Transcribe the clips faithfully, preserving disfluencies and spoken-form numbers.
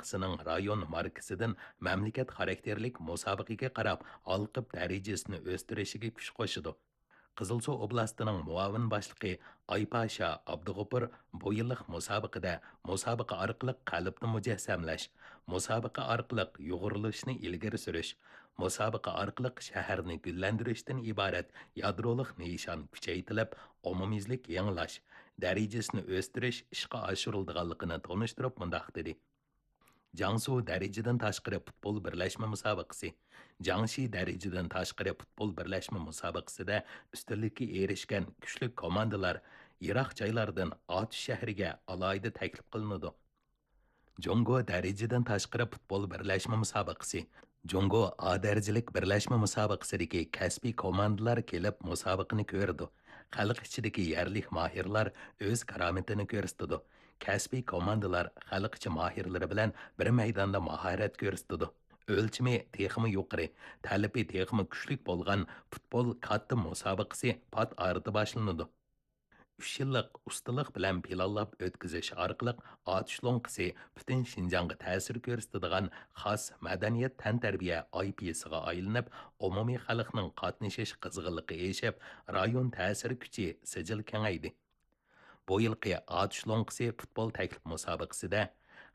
مۇسابىقىسىنىڭ رايون ماركىسىدىن مەملىكەت خاراكتېرلىك مۇسابىقىگە قاراپ ھالقىپ دەرىجىسىنى ئۆستۈرۈشىگە كۈچ قوشىدۇ. قىزىلسۇ ئوبلاستىنىڭ مۇئاۋىن باشلىقى ئايپاشا ئابدۇغوپۇر بۇ يىللىق مۇسابىقىدە مۇسابىقە ئارقىلىق قەلبنى مۇجەسسەملەش، مۇسابىقە ئارقىلىق يۇغۇرۇلۇشنى ئىلگىرى سۈرۈش، مۇسابىقە ئارقىلىق شەھەرنى گۈللەندۈرۈشتىن ئىبارەت يادرولۇق نىشان كۈچەيتىلىپ، ئومۇميۈزلۈك يېڭىلاش، دەرىجىسىنى ئۆستۈرۈش ئىشقا ئاشۇرۇلىدىغانلىقىنى تونۇشتۇرۇپ مۇنداق دېدى: جياڭسۇ دەرىجىدىن تاشقىرى پۇتبول بىرلەشمە مۇسابىقىسى، جياڭشى دەرىجىدىن تاشقىرى پۇتبول بىرلەشمە مۇسابىقىسىدە ئۈستۈنلۈككە ئېرىشكەن كۈچلۈك كوماندىلار يىراق جايلاردىن ئاتۇش شەھىرىگە ئالاھىدە تەكلىپ قىلىنىدۇ. جۇڭگو دەرىجىدىن تاشقىرى پۇتبول بىرلەشمە مۇسابىقىسى، جۇڭگو ئا دەرىجىلىك بىرلەشمە مۇسابىقىسىدىكى كەسپىي كوماندىلار كېلىپ مۇسابىقىنى كۆرىدۇ. خەلق ئىچىدىكى يەرلىك ماھىرلار ئۆز كارامىتىنى كۆرسىتىدۇ. كەسپىي كوماندىلار خەلق ئىچى ماھىرلىرى بىلەن بىر مەيداندا ماھارەت كۆرسىتىدۇ. ئۆلچىمى تېخىمۇ يۇقىرى، تەلىپى تېخىمۇ كۈچلۈك بولغان پۇتبول كاتتا مۇسابىقىسى پات ئارىدا باشلىنىدۇ. ئۈچ يىللىق ئۇستىلىق بىلەن پىلانلاپ ئۆتكۈزۈش ئارقىلىق ئاتۇش لوڭقىسى پۈتۈن شىنجاڭغا تەسىر كۆرسىتىدىغان خاس مەدەنىيەت تەنتەربىيە ئاي پى سىغا ئايلىنىپ، ئومۇمىي خەلقنىڭ قاتنىشىش قىزغىنلىقى ئېشىپ، رايون تەسىر كۈچى سىجىل كېڭەيدى. بۇ يىلقى ئاتۇش لوڭقىسى پۇتبول تەكلىپ مۇسابىقىسىدە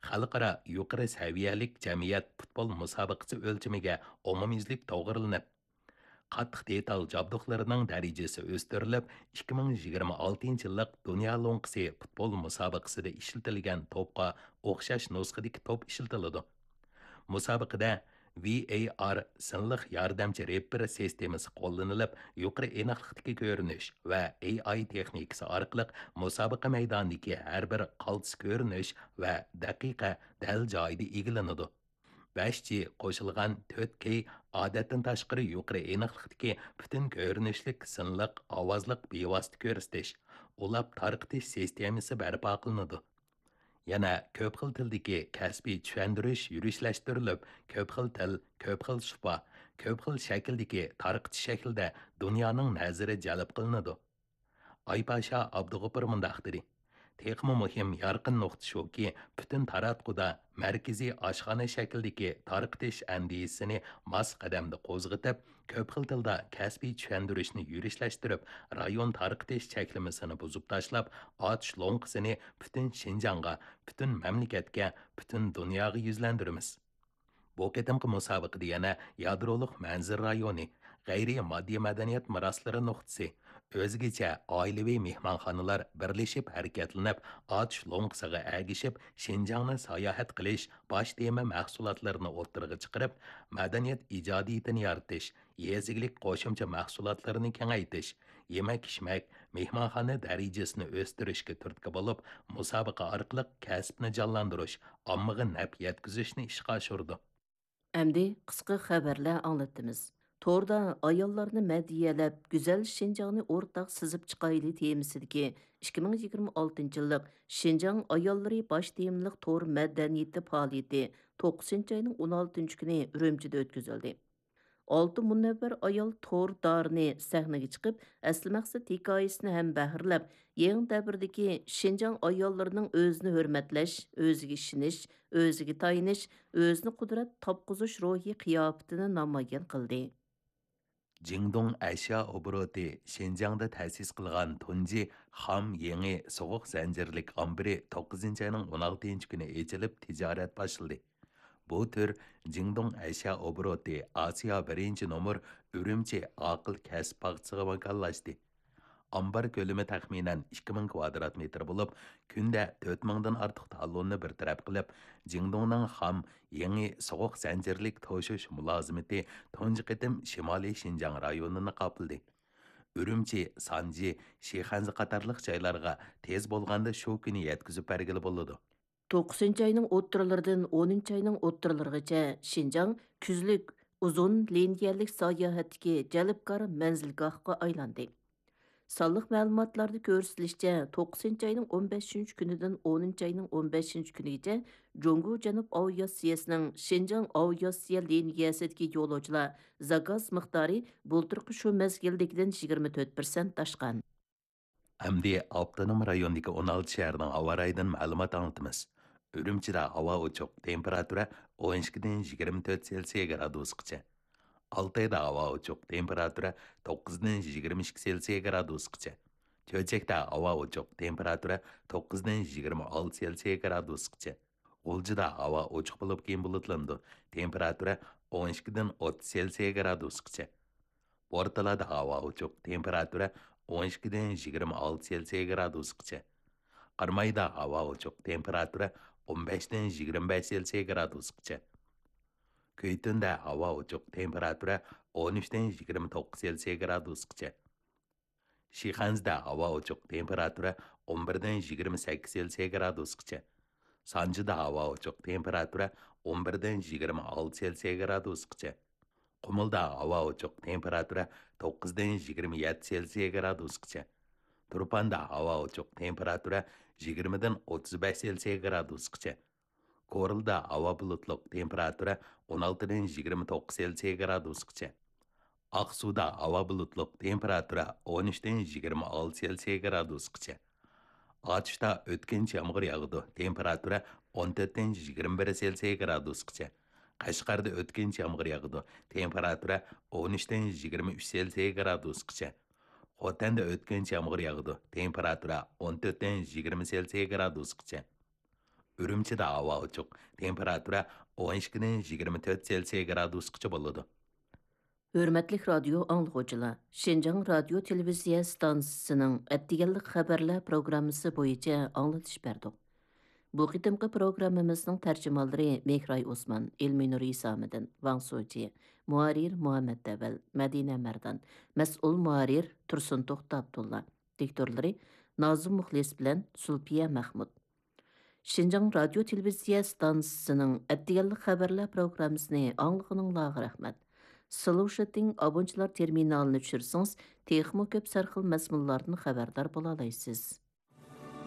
خەلقئارا يۇقىرى سەۋىيەلىك جەمئىيەت پۇتبول مۇسابىقىسى ئۆلچىمىگە ئومۇميۈزلۈك توغرىلىنىپ، قاتتىق دېتال جابدۇقلىرىنىڭ دەرىجىسى ئۆستۈرۈلۈپ، ئىككى مىڭ يىگىرمە ئالتىنچى يىللىق دۇنيا لوڭقىسى پۇتبول مۇسابىقىسىدە ئىشلىتىلگەن توپقا ئوخشاش نۇسخىدىكى توپ ئىشلىتىلىدۇ. مۇسابىقىدە ۋى ئەي ئار سىنلىق ياردەمچى رېپېر سىستېمىسى قوللىنىلىپ، يۇقىرى ئېنىقلىقتىكى كۆرۈنۈش ۋە ئېي ئاي تېخنىكىسى ئارقىلىق مۇسابىقە مەيدانىدىكى ھەر بىر قالتىس كۆرۈنۈش ۋە دەقىقە دەل جايىدا ئىگىلىنىدۇ. بەش جى قوشۇلغان تۆت كېي ئادەتتىن تاشقىرى يۇقىرى ئېنىقلىقتىكى پۈتۈن كۆرۈنۈشلۈك سىنلىق ئاۋازلىق بىۋاسىتە كۆرسىتىش، ئۇلاپ تارقىتىش سىستېمىسى بەرپا قىلىنىدۇ. يەنە كۆپ خىل تىلدىكى كەسپىي چۈشەندۈرۈش يۈرۈشلەشتۈرۈلۈپ، كۆپ خىل تىل، كۆپ خىل سۇپا، كۆپ خىل شەكىلدىكى تارقىتىش شەكلىدە دۇنيانىڭ نەزىرى جەلپ قىلىنىدۇ. ئايپاشا ئابدۇغوپۇر مۇنداق دېدى: تېخىمۇ مۇھىم يارقىن نۇقتا شۇكى، پۈتۈن تاراتقۇدا مەركىزىي ئاشخانا شەكلىدىكى تارقىتىش ئەندىزىسىنى ماس قەدەمدە قوزغىتىپ، كۆپ خىل تىلدا كەسپىي چۈشەندۈرۈشنى يۈرۈشلەشتۈرۈپ، رايون تارقىتىش چەكلىمىسىنى بۇزۇپ تاشلاپ، ئاتۇش لوڭقىسىنى پۈتۈن شىنجاڭغا، پۈتۈن مەملىكەتكە، پۈتۈن دۇنياغا يۈزلەندۈرىمىز. بۇ قېتىمقى مۇسابىقىدە يەنە يادرولۇق مەنزىرە رايونى، غەيرىي ماددىي مەدەنىيەت مىراسلىرى نۇقتىسى، ئۆزگىچە ئائىلىۋى مېھمانخانىلار بىرلىشىپ ھەرىكەتلىنىپ، ئاتۇش لوڭقىسىغا ئەگىشىپ، شىنجاڭنى ساياھەت قىلىش باش تېما مەھسۇلاتلىرىنى ئوتتۇرىغا چىقىرىپ، مەدەنىيەت ئىجادىيىتىنى يارىتىش، يېزا ئىگىلىك قوشۇمچە مەھسۇلاتلىرىنى كېڭەيتىش، يېمەك-ئىچمەك، مېھمانخانا دەرىجىسىنى ئۆستۈرۈشكە تۈرتكە بولۇپ، مۇسابىقە ئارقىلىق كەسىپنى جانلاندۇرۇش، ئاممىغا نەپ يەتكۈزۈشنى ئىشقا ئاشۇرىدۇ. ئەمدى قىسقا خەۋەرلەر ئاڭلىتىمىز. توردا ئاياللارنى مەدھىيەلەپ، گۈزەل شىنجاڭنى ئورتاق سىزىپ چىقايلى تېمىسىدىكى ئىككى مىڭ يىگىرمە ئالتىنچى يىللىق شىنجاڭ ئاياللىرى باش تېمىلىق تور مەدەنىيىتى پائالىيىتى توققۇزىنچى ئاينىڭ ئون ئالتىنچى كۈنى ئۈرۈمچىدە ئۆتكۈزۈلدى. ئالتە مۇنەۋۋەر ئايال تور دارىنى سەھنىگە چىقىپ، ئەسلى مەقسەت ھېكايىسىنى ھەم بەھرىلەپ، يېڭى دەۋردىكى شىنجاڭ ئاياللىرىنىڭ ئۆزىنى ھۆرمەتلەش، ئۆزىگە ئىشىنىش، ئۆزىگە تايىنىش، ئۆزىنى قۇدرەت تاپقۇزۇش روھى قىياپىتىنى نامايان قىلدى. جىڭدۇڭ ئەشيا ئوبوروتى شىنجاڭدا تەسىس قىلغان تۇنجى خام يېڭى سوغۇق زەنجىرلىك ئامبىرى توققۇزىنچى ئاينىڭ ئون ئالتىنچى كۈنى ئېچىلىپ، تىجارەت باشلىدى. بۇ تۈر جىڭدۇڭ ئەشيا ئوبوروتى ئاسىيا بىرىنچى نومۇر ئۈرۈمچى ئاقىل كەسىپ باغچىسىغا ۋاكاللاشتى. ئامبار كۆلىمى تەخمىنەن ئىككى مىڭ كۋادرات مېتىر بولۇپ، كۈندە تۆت مىڭدىن ئارتۇق تالوننى بىر تەرەپ قىلىپ، جىڭدۇڭنىڭ خام يېڭى سوغۇق زەنجىرلىك توشۇش مۇلازىمىتى تۇنجى قېتىم شىمالىي شىنجاڭ رايونىنى قاپلىدى. ئۈرۈمچى، سانجى، شىخەنزە قاتارلىق جايلارغا تېز بولغاندا شۇ كۈنى يەتكۈزۈپ بەرگىلى بولىدۇ. توققۇزىنچى ئاينىڭ ئوتتۇرىلىرىدىن ئونىنچى ئاينىڭ ئوتتۇرىلىرىغىچە شىنجاڭ كۈزلۈك ئۇزۇن لىنىيەلىك ساياھەتتىكى جەلپكار مەنزىلگاھقا ئايلاندى. سانلىق مەلۇماتلاردا كۆرسىتىلىشىچە، توققۇزىنچى ئاينىڭ ئون بەشىنچى كۈنىدىن ئونىنچى ئاينىڭ ئون بەشىنچى كۈنىگىچە جۇڭگو جەنۇب ئاۋىئاتسىيەسىنىڭ شىنجاڭ ئاۋىئاتسىيە لىنىيەسىدىكى يولۇچىلار زاكاز مىقدارى بۇلتۇرقى شۇ مەزگىلدىكىدىن يىگىرمە تۆت پىرسەنت ئاشقان. ئەمدى ئاپتونوم رايوندىكى ئون ئالتە شەھەرنىڭ ھاۋا رايىدىن مەلۇمات ئاڭلىتىمىز. ئۈرۈمچىدە ھاۋا ئوچۇق، تېمپېراتۇرا ئون ئىككىدىن يىگىرمە تۆت سېلسىيە گرادۇسقىچە. ئالتايدا ھاۋا ئوچۇق، تېمپېراتۇرا توققۇزدىن يىگىرمە ئىككى سېلسىيە گرادۇسقىچە. چۆچەكتە ھاۋا ئوچۇق، تېمپېراتۇرا توققۇزدىن يىگىرمە ئالتە سېلسىيە گرادۇسقىچە. غۇلجىدا ھاۋا ئوچۇق بولۇپ، كېيىن بۇلۇتلىنىدۇ، تېمپېراتۇرا ئون ئىككىدىن ئوتتۇز سېلسىيە گرادۇسقىچە. بورتالادا ھاۋا ئوچۇق، تېمپېراتۇرا ئون ئىككىدىن يىگىرمە ئالتە سېلسىيە گرادۇسقىچە. قارامايدا ھاۋا ئوچۇق، تېمپېراتۇرا ئون بەشتىن يىگىرمە بەش سېلسىيە گرادۇسقىچە. كۈيتۈندە ھاۋا ئوچۇق، تېمپېراتۇرا ئون ئۈچتىن يىگىرمە توققۇز سېلسىيە گرادۇسقىچە. شىخەنزىدە ھاۋا ئوچۇق، تېمپېراتۇرا ئون بىردىن يىگىرمە سەككىز سېلسىيە گرادۇسقىچە. سانجىدا ھاۋا ئوچۇق، تېمپېراتۇرا ئون بىردىن يىگىرمە ئالتە سېلسىيە گرادۇسقىچە. قۇمۇلدا ھاۋا ئوچۇق، تېمپېراتۇرا توققۇزدىن يىگىرمە يەتتە سېلسىيە گرادۇسقىچە. تۇرپاندا ھاۋا ئوچۇق، تېمپېراتۇرا يىگىرمىدىن ئوتتۇز بەش سېلسىيە گرادۇسقىچە. كورلىدا ھاۋا بۇلۇتلۇق، تېمپېراتۇرا ئون ئالتىدىن يىگىرمە توققۇز سېلسىيە گرادۇسقىچە. ئاقسۇدا ھاۋا بۇلۇتلۇق، تېمپېراتۇرا ئون ئۈچتىن يىگىرمە ئالتە سېلسىيە گرادۇسقىچە. ئاتۇشتا ئۆتكۈنچى يامغۇر ياغىدۇ، تېمپېراتۇرا ئون تۆتتىن يىگىرمە بىر سېلسىيە گرادۇسقىچە. قەشقەردە ئۆتكۈنچى يامغۇر ياغىدۇ، تېمپېراتۇرا ئون ئۈچتىن يىگىرمە ئۈچ سېلسىيە گرادۇسقىچە. خوتەندە ئۆتكۈنچى يامغۇر ياغىدۇ، تېمپېراتۇرا ئون تۆتتىن يىگىرمە سېلسىيە گرادۇسقىچە. ئۈرۈمچىدە ھاۋا ئوچۇق، تېمپېراتۇرا ئون ئىككىدىن يىگىرمە تۆت سېلسىيە گرادۇسقىچە بولىدۇ. ھۆرمەتلىك رادىيو ئاڭلىغۇچىلار، شىنجاڭ رادىيو تېلېۋىزىيە ستانسىسىنىڭ ئەتىگەنلىك خەۋەرلەر پروگراممىسى بويىچە ئاڭلىتىش بەردۇق. بۇ قېتىمقى پروگراممىمىزنىڭ تەرجىمانلىرى مېھراي ئوسمان، ئىلمىنۇر ھېسامىدىن، ۋاڭ سوجى، مۇھەررىر مۇھەممەت ئەۋەل، مەدىنە مەردان، مەسئۇل مۇھەررىر تۇرسۇن توختى ئابدۇللا، دىكتورلىرى نازىم مۇخلىس بىلەن زۇلپىيە مەخمۇت. شىنجاڭ رادىيو تېلېۋىزىيە ستانسىسىنىڭ ئەتىگەنلىك خەۋەرلەر پروگراممىسىنى ئاڭلىغىنىڭلارغا رەھمەت. سلوشىتىڭ ئابونچىلار تېرمىنالىنى چۈشۈرسىڭىز، تېخىمۇ كۆپ سەرخىل مەزمۇنلاردىن خەۋەردار بولالايسىز.